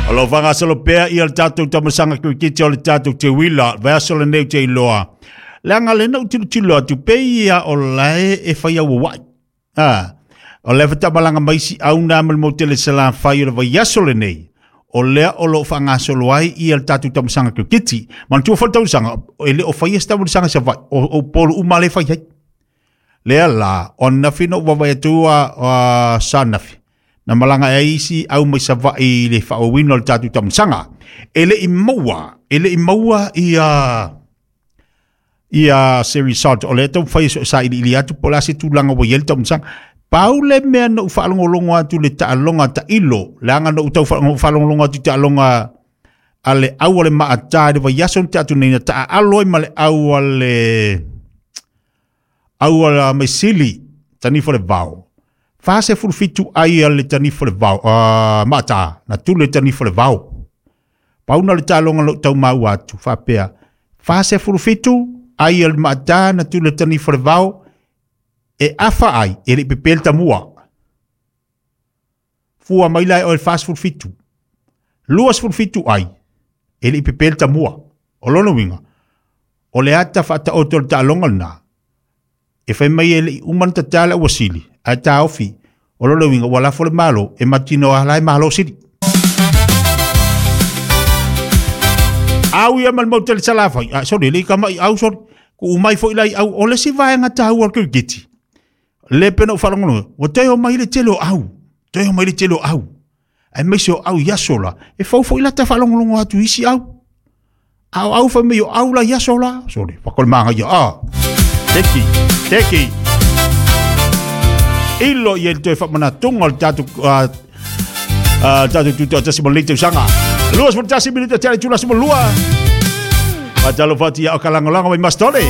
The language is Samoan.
O lo whangasolo pea ia le tātou tamasanga kirikiti o le tātou te wila, vaiaso lenei o te iloa. Leaga lena u tilotilo atu pe ia o lae e whai au wai. Ah, o le whatamalaga mai si au nā ma le motele Salafai o le vaiaso lenei. O lea o lo o faagasolo ai ia le tatou tamasaga kiriketi. Manatua foi le tausaga, e le o faia se tamasaga Savaii, o Upolu uma lea e fai ai. Lea la, o ananafi na ou vaavaai atu a sa ananafi, na malaga ai isi au mai Savaii i le faaauauina o le tatou tamasaga. E le i maua, e le i maua ia ia se result o lea taumafai e sailiili atu po o le a se tulaga ua i ai le taumasaga. Pau le mea na ou faalogologo atu i le taaloga a tailo, leaga na ou tau faalogologo atu i taaloga a le au a le Maata i le vaiaso na tea atu nei, na taaalo ai ma le au a le au a Maisili, Tanifa le Vao. 47 ai a le Tanifa le Vao, Maata, na tuli le Tanifa le Vao. Pau na o le taaloga na ou tau maua atu, faapea, 47 ai a le Maata na tuli le Tanifa le Vao, e afa ai, e le i pepe le tamua. Fua mai la e oe le 47. 27 ai, e le i pepe le tamua. O lona uiga, o le ata faataoto o le taaloga lena, e fai mai e le i uma ona tata le auasili, ae taofi, o lona uiga ua lafo le Malo e matinoa la e Malo sili. Au ia ma le mau tele Salafai, ah, sorry, le i kama'i au, sorry. Ku'u mai foi la i au, o le isi vaega taua o le kirikiti, le pei ona ou faalogologo, ua toe omai le tele o au, toe omai le tele o au. Aemaise o au i aso la, e fou foi lata faalogologo atu i isi au. A o au fai mai o au la i aso la, sorry, whakole māngaia, ah. Teki, teki. Ilo i e toe whamanātonga o le tātou, tātou tūtoa tasi mo le tausaga. 21 minute te ale tula se mo lua. Fatalofa atu ia o ka lagolago mai Mastole.